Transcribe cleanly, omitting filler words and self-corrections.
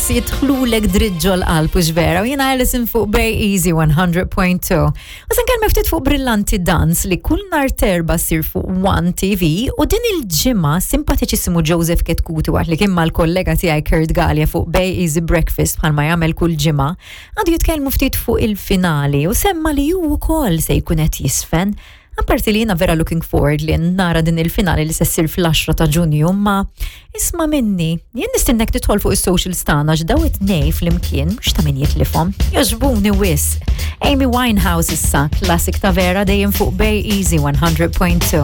Jidħlulek dritt ġol-qalb u vera u jiena Alison fuq Bay Easy 100.2. U se nkellmek ftit fuq Brillanti Dance li kull nhar t'Erbgħa ssir fuq One TV u din il-ġimgħa simpatiċissimu Joseph Ketkuti waqt li kien mal-kollega tiegħi Kurt Galea fuq Bay Easy Breakfast bħalma jagħmel kull ġimgħa għadu jitkellmu ftit fuq il-finali u semma li hu wkoll se jkun qed jisfen. Apparti li jiena vera looking forward li nara din il-finali li se ssir fl-10 ta' Ġunju, ma isma' minni, jien nistinnek tidħol fuq is-socials tagħna għax daw it-tnej flimkien mhux ta' min jitlifhom. Jogħġbuni wisq. Amy Winehouse issa, classic ta' vera dejjem fuq Bay Easy 100.2.